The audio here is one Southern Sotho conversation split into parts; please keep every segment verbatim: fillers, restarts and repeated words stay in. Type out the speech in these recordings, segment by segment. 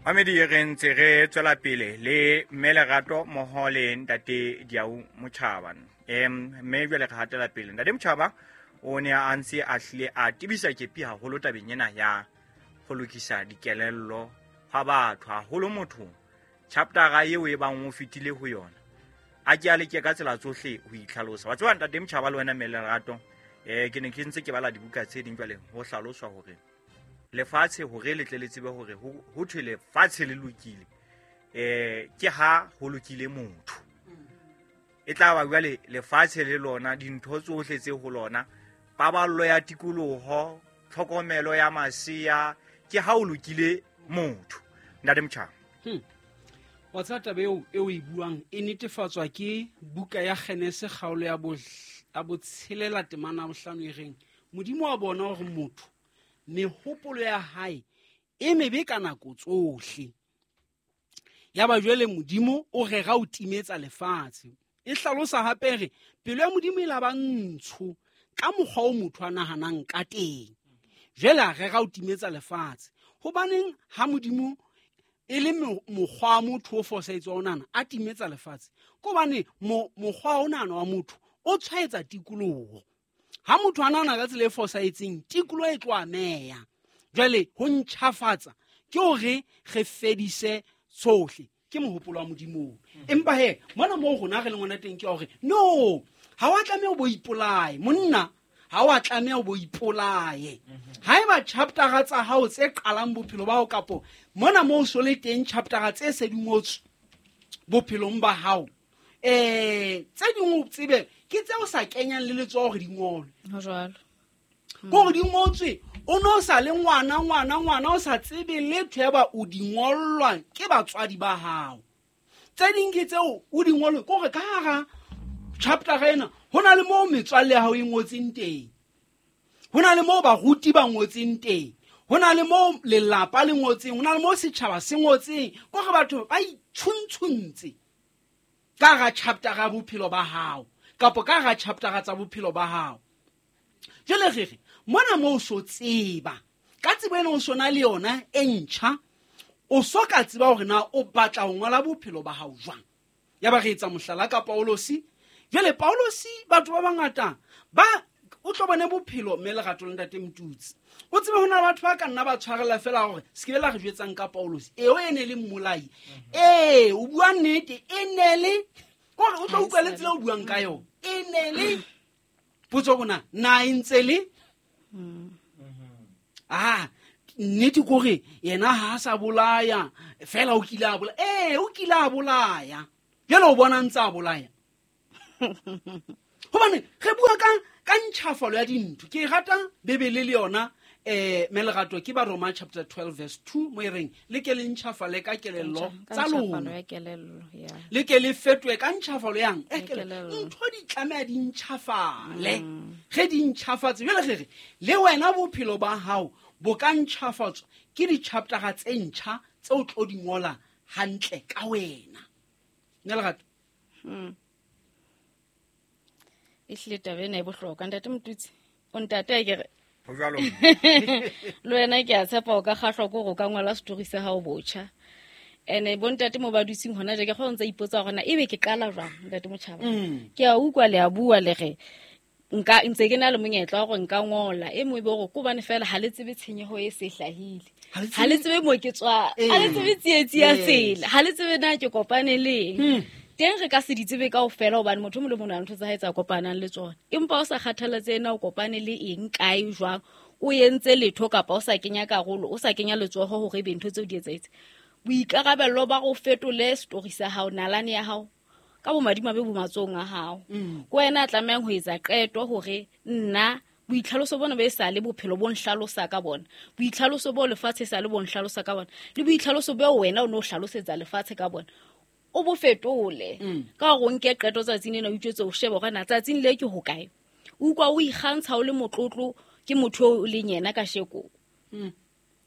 Mamedi re ntse re tswela pele le mme Lerato mmoho le ntate Diau Motjhaba. Em mme jwale re hatela pele. Ntate Motjhaba o ne a ntse a hlile a tebisa kepi haholo tabeng ena ya ho lokisa dikelello hwa batho, haholo motho chapter eo e bang o fetile ho yona. A ke a leke ka tsela tsohle ho itlhalosa. Wa tseba ntate Motjhaba le wena mme Lerato, eh ke ne ke ntse ke bala dibuka tse ding jwale ho hlaloswa hore lefatshe hore le tle le tsebe hore ho thwe lefatshe le lokile, eh ke ha ho lokile motho. E tla ba jwale lefatshe le lona, dintho tsohle tse ho lona, paballo ya tikoloho, tlhokomelo ya masea, ke ha o lokile motho. Ntate Motjhaba. Hmm. Wa tseba taba eo e o e buang e netefatswa ke buka ya Genese kgaolo ya bo ya botshelela temana ya bohlano e reng Modimo wa bona hore motho mehopolo ya hae e mebe ka nako tsohle. Ya ba jwale Modimo o rera ho timetsa lefatshe. E hlalosa hape re pelo ya Modimo e la ba ntsho ka mokgwa o motho a nahanang ka teng. Jwale a rera ho timetsa lefatshe. Hobaneng ha Modimo e le mokgwa wa motho o fosahetseng wa ho nahana a timetsa lefatshe? Ke hobane mokgwa o nahana wa motho o tshwaetsa tikoloho. Ha motho a nahana ka tsela e fosahetseng, tikoloho e tlo ameha. Jwale ho ntjhafatsa ke hore re fedise tsohle, ke mohopolo wa Modimo. Empa he mona moo rona re leng hona teng ke hore no, ha wa tlameha o bo ipolaye monna, ha wa tlameha o bo ipolaye. Haeba chapter tsa hao tse qalang bophelo ba hao kapo mona moo so le teng chapter tse se di ngotswe bophelong ba hao, eh tse ding o tsebe ke tse o sa kenyang le letsoho hore di ngolwe. Ho jwalo. Hore di ngotswe o no sa le ngwana ngwana ngwana o sa tsebe letho ya ba o di ngollwa ke batswadi ba hao. Tse ding ke tseo o di ngolwe ke hore ka hara chapter ena ho na le moo metswalle ya hao e ngotseng teng, ho na le moo baruti ba ngotseng teng, ho na le moo lelapa le ngotseng, ho na le moo setjhaba se ngotseng. Ke hore batho ba itshuntshuntse ka hara chapter ya bophelo ba hao kapo ka hara chapter tsa bophelo ba hao. Jwale re re mona moo o so tseba ka tsebo ena o so na le yona e ntjha, o so ka tseba hore na o batla ho ngola bophelo ba hao jwang. Ya ba re etsa mohlala ka Paulosi. Jwale Paulosi batho ba bangata ba o tlo bone bophelo mme Lerato le ntate Motutsi. O tsebe ho na le batho ba ka nna ba tshwarela fela hore se ke be la re jwetsang ka Paulosi. Eo e ne le mmolai. Ee, o bua nnete, e ne le kore o tlo utlwa le tsela o buang ka yona. E ne le potso bona na e ntse le ah nnete kore yena ha sa bolaya fela o kile a bolaya. Ee, o kile a bolaya. Jwale o bona ntse a bolaya. Hobane re bua ka ka ntjhafalo ya dintho. Ke rata Bibele le yona eh mme Lerato ke ba Roma chapter twelve verse two mo e reng le ke le ntjhafale ka kelello tsa lona. Le ke le fetohe ka ntjhafalo yang e kelello. Ntho di tlameha di ntjhafale. Ge di ntjhafatse jwale re re le wena bophelo ba hao bo ka ntjhafatswa ke di-chapter tse ntjha tse o tlo di ngola hantle ka wena. Mme Lerato. Mm. E hlile taba ena e bohlokwa ntate Motutsi. O ntate ke re ho jwalo. Le wena ke a tshepa o ka kgahlwa ke hore o ka ngola story sa hao botjha. Ene bo ntate mo ba dutseng hona je ke kgona ntse ipotsa hore na ebe ke qala jwang ntate Motjhaba. Ke a utlwa le a bua le re nka ntse ke na le monyetla wa hore nka ngola e mo e be hore ko bane fela ha le tsebe tshenyeho e se hlahile. Ha le tsebe mo ke tswa, ha le tsebe tsietsi ya tsela, ha le tsebe na ke kopane le eng. Teng re ka se di tsebe kaofela hobane motho mo le mong a ntho tsa hae tsa kopanang le tsona. Empa o sa kgathalatse ena o kopane le eng kae jwang, o entse letho kapa o sa kenya karolo, o sa kenya letsoho hore ebe ntho tseo di etsahetse. Boikarabello ba go fetole story sa hao, nalane ya hao ka bomadimabe bo matsohong a hao. Ke wena a tlamehang ho etsa qeto hore nna boitlhaloso bona bo e sa le bophelo bo nhlalosa ka bona, boitlhaloso bo lefatshe sa le bo nhlalosa ka bona, le boitlhaloso bo wena o no hlalosetsa lefatshe ka bona, o bo fetole. Ka hore o nke qeto tsatsing lena o itjwetse o shebe hore na tsatsing le ke hokae. O utlwa o ikgantsha o le motlotlo ke motho o leng yena kasheko. O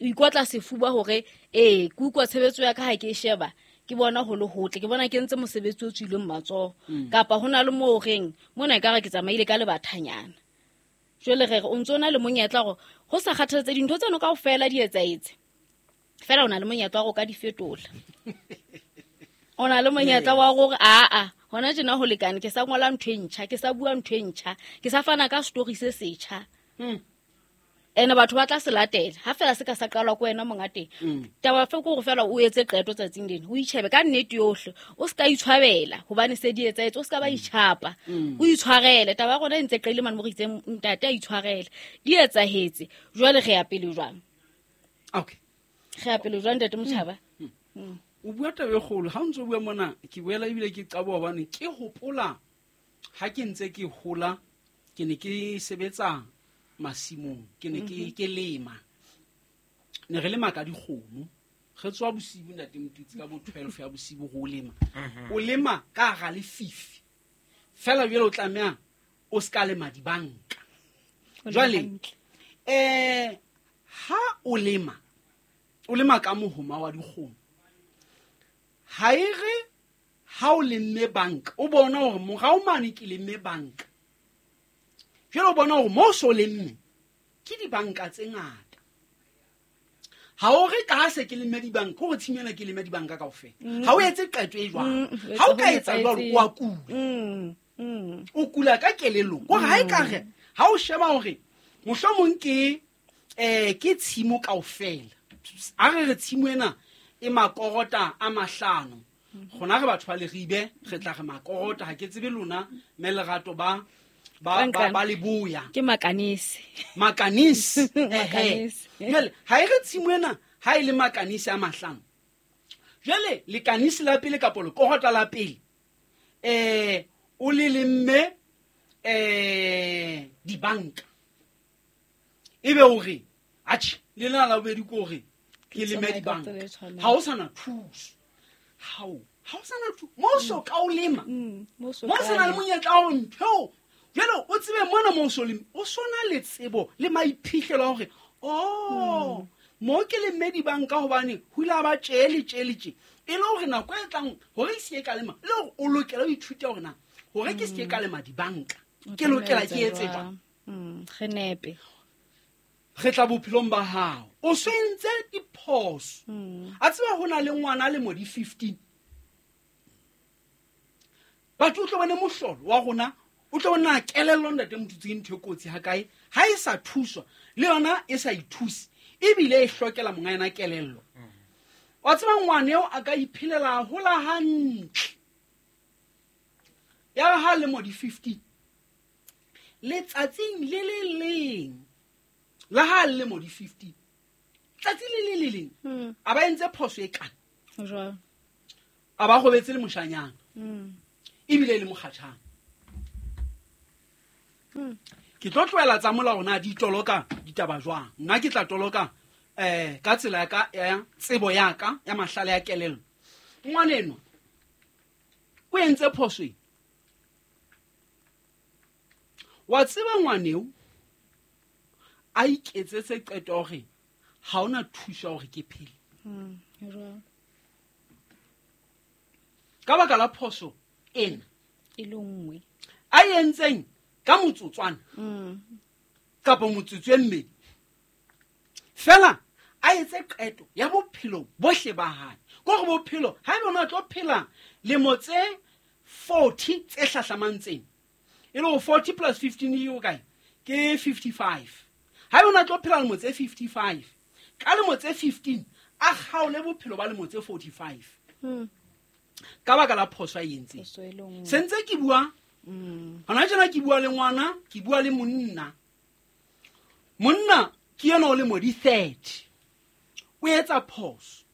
ikotla sefuba hore ee ke utlwa tshebetso ya ka ha ke e sheba ke bona ho le hotle, ke bona ke ntse mosebetsi o tswileng matsoho. Kapa hona le moo reng mona ekare ke tsamaile ka lebathanyana. Jwale re re o ntso na le monyetla hore ho sa kgathalatse dintho tseno kaofela di etsahetse. Fela o na le monyetla wa go ka di fetola. O na le monyetla wa gore aa hona tjena ho lekane ke sa ngola ntho e ntjha, ke sa bua ntho e ntjha, ke sa fana ka story se setjha. Mm. Ene batho ba tla se latela ha fela se ka sa qalwa ko wena monga teng. Taba fe ke hore fela o etse qeto tsatsing lena, o itjhebe ka nnete yohle, o ska itshwabela hobane se di etsahetse, o ska ba itjhapa, o itshwarele. Taba ya rona e ntse qeile mane mo re itseng ntate a itshwarele, di etsahetse. Jwale re ya pele jwang? Okay. Re ya pele jwang ntate Motjhaba? O bua taba e kgolo ha o ntso bua mona, ke boela ebile ke qabo hobane ke hopola ha ke ntse ke hola ke ne ke sebetsa masimong, ke ne ke ke lema. Ne re lema ka dikgomo, re tswa bosibu ntate Motutsi ka bo twelve ya bosibu go lema. O lema ka hara lefifi fela, jwale o tlameha o ska lema dibanka. Jwale eh ha o lema, o lema ka mohoma wa dikgomo, ha e re ha o lemme banka o bona hore morao mane ke lemme banka, jwale o bona hore mo so lemme ke dibanka tse ngata. Ha o re ka se ke lemme dibanka, hore tshimela ke lemme dibanka kaofela. Ha o etse qeto e jwalo, ha o ka etsa jwalo o a kula. O kula ka kelellong. Hore ha e ka re ha o sheba hore mohlomong ke eh ke tshimo kaofela, a re re tshimo ena e makorota a mahlano, gona re batho ba Leribe re tla re makorota, ha ke tsebe lona mme Lerato ba ba ba ba leboya ke makanisi makanisi ehe. Jwale ha e re tshimo ena ha e le makanisi a mahlano, jwale lekanisi la pele kapa lekorota la pele eh o le lemme eh dibanka, ebe o re atjhe le lena la bobedi ko re ke lemme dibanka, ha o sana thuso. Hao ha o sana thuso mo so ka o lema mo sena le monyetla wa ntho. Jwale o tsebe mona mo so lema o sona le tsebo le maiphihlelo hore oh mo ke lemme dibanka hobane ho ile ba tjele tjele tje, e le hore nako e tlang hore se ke ka lema, le hore o lokela ho ithuta hore na hore ke se ke ka lema dibanka ke lokela ke etse jwang. Re nepe re tla bophelong ba hao o swentse diphoso. A tseba ho na le ngwana le mo di fifteen, batho o tlo bone mohlolo wa rona, o tlo bona kelello ntate Motutsi ke ntho e kotsi ha kae ha e sa thuswa le yona e sa ithuse ebile e hlokela monga yena kelello. Wa tseba ngwana eo a ka iphelela hola hantle ya ha le mo di fifteen, letsatsing le le leng la ha le mo di fifteen, tsatsi le le le leng a ba entse phoso e kana jwang, a ba robetse le moshanyana ebile le mokgatjhana. Ke tlo tlohela tsa molao na di toloka ditaba jwang, nna ke tla toloka eh ka tsela ya ka ya tsebo ya ka ya mahlale ya kelello. Ngwaneno o entse phoso e, wa tseba ngwaneo a iketsetse qeto hore ha ona thuso hore ke phele ka baka la phoso ena e le nngwe a entseng ka motsotswana kapa motsotso e mmedi fela, a etse qeto ya bophelo bohle ba hae. Ke hore bophelo ha ebe ona tlo phela lemo tse forty tse hlahlamang tsena, e le hore forty plus fifteen e kae ke fifty-five. Ha ebe ona tlo phela lemo tse fifty-five, ka lemo tse fifteen a kgaole bophelo ba lemo tse forty-five ka baka la phoso a e entseng. Se ntse ke bua hona tjena, ke bua le ngwana, ke bua le monna. Monna ke yena o le mo di thirty, o etsa phoso.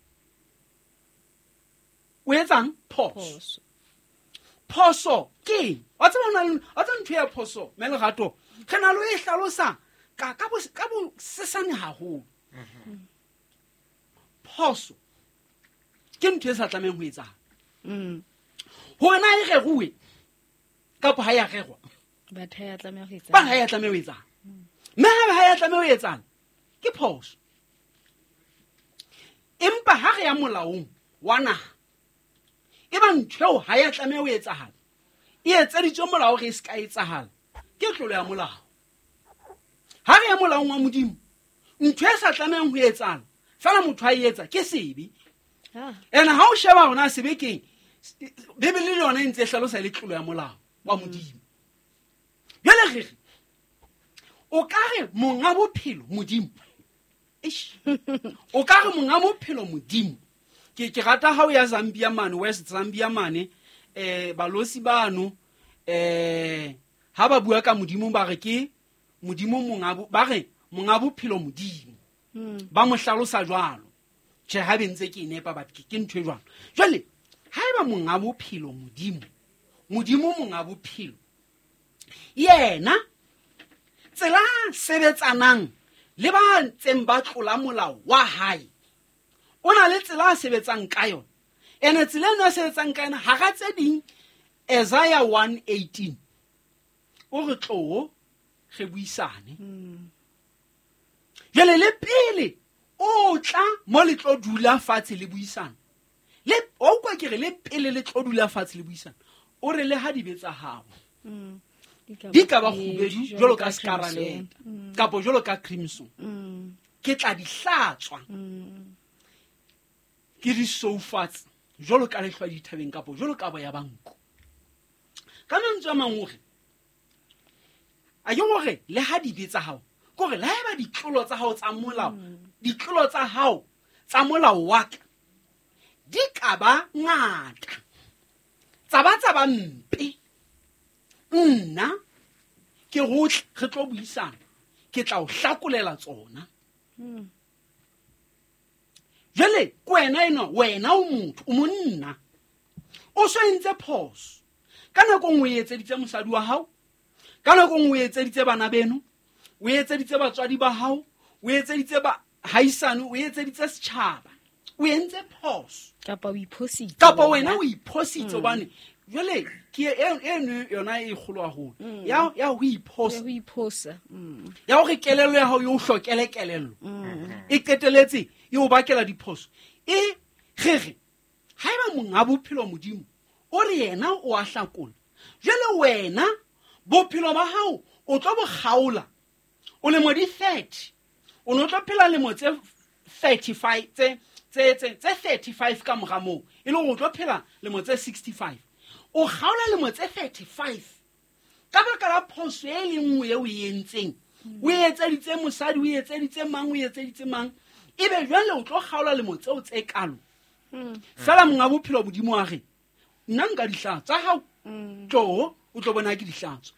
O etsang phoso? Phoso ke wa tseba hona le wa tseba ntho ya phoso mme Lerato re na le e hlalosa ka ka bo ka bo sesane haholo. Phoso ke ntho e sa tlamehang ho etsahala. Hore na e reruwe kapa ha ya rerwa, batho ha ya tlameha ho etsahala, ba ha ya tlameha ho etsahala, mme ha ha ya tlameha ho etsahala ke phoso. Empa ha re ya molaong wa naha, e ba ntho eo ha ya tlameha ho etsahala, e etseditswe molao re se ka etsahala, ke tlolo ya molao. Ha re ya molaong wa Modimo, ntho e sa tlamehang ho etsahala Fela motho a etsa ke sebe. Ene ha o sheba hona sebe keng, Bibele le yona e ntse e hlalosa e le tlolo ya molao wa Modimo. Jwale re re o ka re monga bophelo Modimo. Eish. O ka re monga bophelo Modimo. Ke ke rata ha o ya Zambia mane, West Zambia mane, eh balosi bano eh ha ba bua ka Modimo ba re ke Modimo monga ba re monga bophelo Modimo. Ba mo hlalosa jwalo. Tjhe, ha be ntse ke nepa batho ke ntho e jwalo. Jwale ha eba monga bophelo Modimo, Modimo monga bophelo yena tsela sebetsanang le ba ntseng ba tlola molao wa hae, o na le tsela a sebetsang ka yona. Ene tsela eno a sebetsang ka yona hara tse ding, Isaiah one eighteen o re tlo re buisane. Jwale le pele o tla mo le tlo dula fatshe le buisana, le o kwa ke re le pele le tlo dula fatshe le buisana, o re le ha dibe tsa hao di ka ba kgubedu jwalo ka scarlet kapa jwalo ka crimson, ke tla di hlatswa ke di soufatse jwalo ka lehlwa dithabeng kapa jwalo ka boya ba nku. Ka mantswe a mang o re a ke hore le ha dibe tsa hao, ke hore le ha eba ditlolo tsa hao tsa molao, ditlolo tsa hao tsa molao wa ka di ka ba ngata, tsa ba tsa ba mpe, nna ke rotle re tlo buisana, ke tla o hlakolela tsona. Jwale ke wena enwa, wena o motho, o monna, o so entse phoso. Ka nako nngwe o etseditse mosadi wa hao, ka nako nngwe o etseditse bana beno, o etseditse batswadi ba hao, o etseditse ba haisane, o etseditse setjhaba, o entse phoso kapa o iphositse, kapa wena o iphositse. Hobane jwale ke eno yona e kgolo haholo ya ya ho iphosa, ho iphosa ya hore kelello ya hao e o hlokele kelello e qeteletse e o bakela diphoso. E re re haeba monga bophelo Modimo o re yena o a hlakola, jwale wena bophelo ba hao o tlo bo kgaola o lemo di thirty, o no tlo phela lemo tse thirty-five tse tse tse tse thirty-five ka mora moo, e le hore o tlo phela lemo tse sixty-five. O kgaola lemo tse thirty-five ka baka la phoso e le nngwe eo o e entseng, o etseditse mosadi, o etseditse mang, o etseditse mang, ebe jwale o tlo kgaola lemo tseo tse kalo. Fela monga bophelo Modimo a re nna nka dihlatswa tsa hao, tlo o tlo bona ke dihlatswa.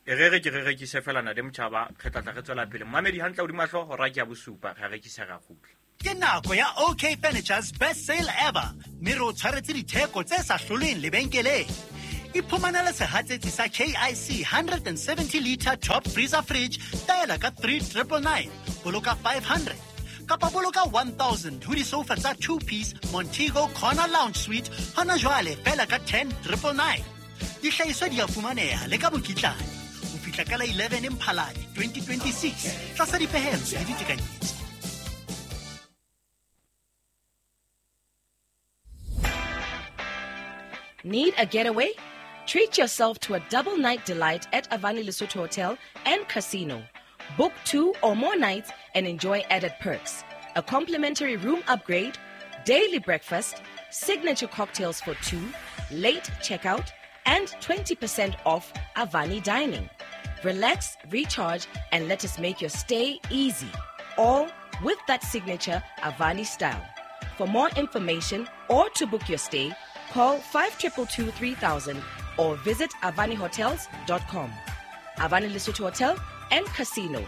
E re re ke re rekise fela na le motjhaba, re tla tla re tswela pele. Mamedi hantle hodima hlooho hora ke ya bosupa, re rekise ra kgutla. Ke nako ya OK Furniture's best sale ever, mme re o tshwaretse ditheko tse sa hlolweng lebenkeleng. Iphumanele sehatsetsi sa K I C one seventy liter top freezer fridge taela ka three triple nine, boloka five hundred kapa boloka one thousand ho disofa tsa two piece Montego Corner Lounge Suite hona jwale fela ka ten triple nine. Dihlahiswa di a fumaneha le ka mokitlane ho fihla ka la eleven Mphalane twenty twenty-six tlasa dipehelo le ditekanyetso. Need a getaway? Treat yourself to a double night delight at Avani Lesotho Hotel and Casino. Book two or more nights and enjoy added perks. A complimentary room upgrade, daily breakfast, signature cocktails for two, late checkout, and twenty percent off Avani dining. Relax, recharge, and let us make your stay easy. All with that signature Avani style. For more information or to book your stay, call five two two two three thousand or visit avani hotels dot com. Avani Lesotho Hotel and Casino.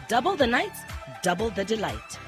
Double the nights, double the delight.